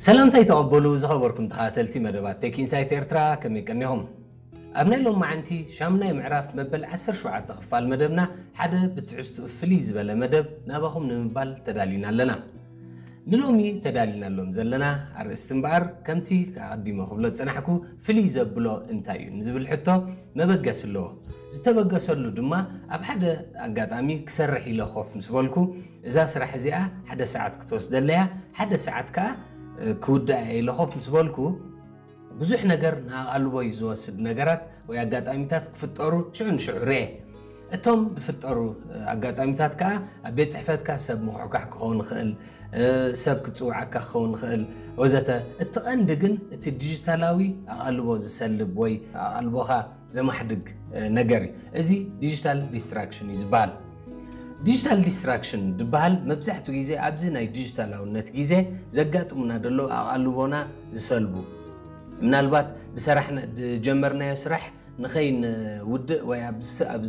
ሰላምታይ ተቐበሉ ዝኸበርኩም ተኸታተልቲ መደባት ቴክ ኢንሳይት ኤርትራ፣ ከመይ ቀኒኹም? ኣብ ናይ ሎማዓንቲ ሻምናይ ምዕራፍ መበል ዓሰርተ ሸውዓተ ክፋል መደብና ሓደ ብትሕዝትኡ ፍልይ ዝበለ መደብ ናባኹም ንምባል ተዳሊና ኣለና። ንሎሚ ተዳሊናሎም ዘለና ኣርእስቲ እምበኣር ከምቲ ኣቐዲመ ክብሎ ዝጸናሕኩ ፍልይ ዘብሎ እንታይ እዩ ንዝብል ሕቶ መበገሲ ኣለዎ። ዝተበገሰሉ ድማ ኣብ ሓደ ኣጋጣሚ ክሰርሕ ኢለ ኮፍ ምስ በልኩ እዛ ስራሕ እዚኣ ሓደ ሰዓት ክትወስደለያ ሓደ ሰዓት ከኣ ክውዳእ ኢለ ኮፍ ምስ በልኩ ብዙሕ ነገር ንኣቓልቦይ ዝወስድ ነገራት ወይ ኣጋጣሚታት ክፍጠሩ ሽዑ ንሽዑ ርኤ። እቶም ዝፍጠሩ ኣጋጣሚታት ከኣ ኣብ ቤት ጽሕፈትካ ሰብ ምኹሕኳሕ ክኸውን ይኽእል፣ ሰብ ክጽውዓካ ክኸውን ይኽእል ወዘተ። እቲ ቀንዲ ግን እቲ ዲጂታላዊ ኣቓልቦ ዝሰልብ ወይ ኣቓልቦኻ ዘማሕድግ ነገር እዩ። እዚ ዲጂታል ዲስትራክሽን እዩ ዝበሃል። ዲጂታል ዲስትራክሽን ዝበሃል መብዛሕትኡ ግዜ ኣብዚ ናይ ዲጂታላውነት ግዜ ዘጋጥሙና ዘለዉ ኣቓልቦና ዝሰልቡ፣ ምናልባት ዝሰራሕና ዝጀመርናዮ ስራሕ ንኸይንውድእ ወይ ኣብ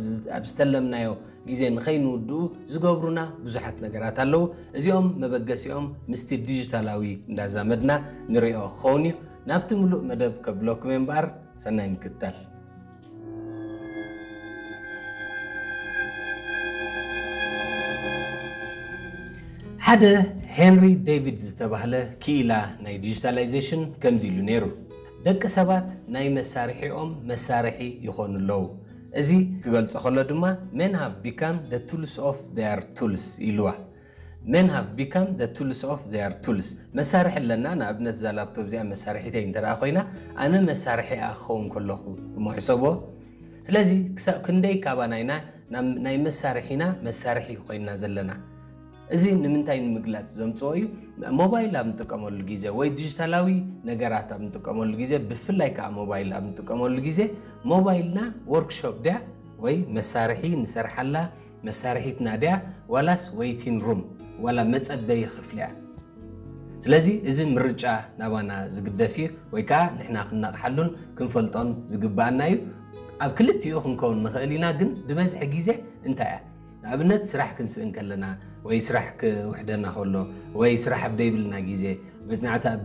ዝተለምናዮ ግዜ ንኸይንውድኡ ዝገብሩና ብዙሓት ነገራት ኣለዉ። እዚኦም መበገሲኦም ምስቲ ዲጂታላዊ እንዳዛመድና ንሪኦ ክኸውን እዩ። ናብቲ ምሉእ መደብ ከብለኩም እየ እምበኣር ሰናይ ምክትታል። ሓደ ሄንሪ ዴቪድ ዝተባህለ ክኢላ ናይ ዲጂታላይዜሽን ከምዚ ኢሉ ነይሩ፣ ደቂ ሰባት ናይ መሳርሒኦም መሳርሒ ይኾኑ ኣለዉ። እዚ ክገልጾ ከሎ ድማ men have become the tools of their tools ኢልዋ። Men have become the tools of their tools። መሳርሒ ኣለና፣ ንኣብነት እዛ ላፕቶፕ እዚኣ መሳርሒተይ እንተ ደኣ ኮይና ኣነ መሳርሒኣ ክኸውን ከለኹ እሞ ሕሰቦ። ስለዚ ክሳብ ክንደይ ካባና ኢና ናይ መሳርሒና መሳርሒ ኮይንና ዘለና? እዚ ንምንታይ ንምግላጽ ዘምጽኦ እዩ? ሞባይል ኣብ ንጥቀመሉ ግዜ ወይ ዲጂታላዊ ነገራት ኣብ ንጥቀመሉ ግዜ፣ ብፍላይ ከዓ ሞባይል ኣብ ንጥቀመሉ ግዜ ሞባይልና ወርክሾፕ ድያ ወይ መሳርሒ ንሰርሓላ መሳርሒትና ድያ ዋላስ ዌይቲን ሩም ዋላ መጸበዪ ክፍሊ እያ? ስለዚ እዚ ምርጫ ናባና ዝግደፍ እዩ ወይ ከዓ ንሕና ክንነቕሓሉን ክንፈልጦን ዝግብኣና እዩ። ኣብ ክልቲኡ ክንከውን ንኽእል ኢና፣ ግን ዝበዝሐ ግዜ እንታይ እያ? ንኣብነት ስራሕ ክንስእን ከለና ወይ ስራሕ ክውሕደና ከሎ ወይ ስራሕ ኣብ ደይብልና ግዜ መጽናዕቲ ኣብ